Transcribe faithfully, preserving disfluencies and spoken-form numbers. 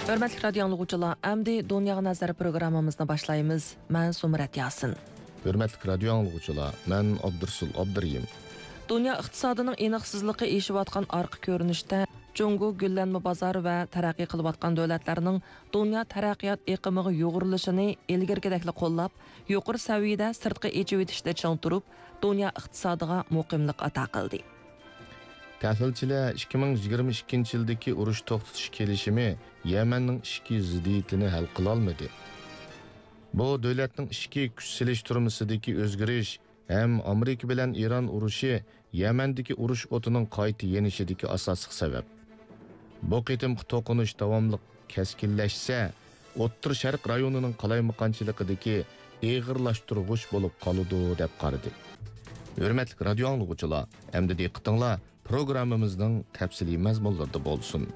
ھۆرمەتلىك رادىيو ئاڭلىغۇچىلار، ئەمدى دۇنياغا نەزەر پروگراممىمىزنى باشلايمىز. مەن سۇمرەت ياسىن. ھۆرمەتلىك رادىيو ئاڭلىغۇچىلار، مەن ئابدۇرسۇل ئابدۇرېھىم. دۇنيا ئىقتىسادىنىڭ ئېنىقسىزلىقى ئېشىۋاتقان ئارقا كۆرۈنۈشتە، جۇڭگو گۈللەنمە بازار ۋە تەرەققىي قىلىۋاتقان دۆلەتلەرنىڭ دۇنيا تەرەققىيات ئېقىمىغا يۇغۇرۇلۇشىنى ئىلگىرىكىدەكلا قوللاپ، يۇقىرى سەۋىيەدە سىرتقا ئېچىۋېتىشتە چىڭ تۇرۇپ، دۇنيا ئىقتىسادىغا مۇقىملىق ئاتا قىلدى. تەھلىلچىلەر ئىككى مىڭ يىگىرمە ئىككىنچى يىلدىكى ئۇرۇش توختىتىش كېلىشىمى يەمەننىڭ ئىچكى زىددىيىتىنى ھەل قىلالمىدى. بۇ دۆلەتنىڭ ئىچكى كۈچ سېلىشتۇرمىسىدىكى ئۆزگىرىش ھەم ئامېرىكا بىلەن ئىران ئۇرۇشى يەمەندىكى ئۇرۇش ئوتىنىڭ قايتا يېنىشىدىكى ئاساسلىق سەۋەب. بۇ قېتىمقى توقۇنۇش داۋاملىق كەسكىنلەشسە، ئوتتۇرا شەرق رايونىنىڭ قالايمىقانچىلىقىدىكى ئېغىرلاشتۇرغۇچ بولۇپ قالىدۇ، دەپ قارىدى. ھۆرمەتلىك رادىيو ئاڭلىغۇچىلار، ئەمدى دىققىتىڭلار پروگراممىمىزنىڭ تەپسىلىي مەزمۇنلىرىدا بولسۇن.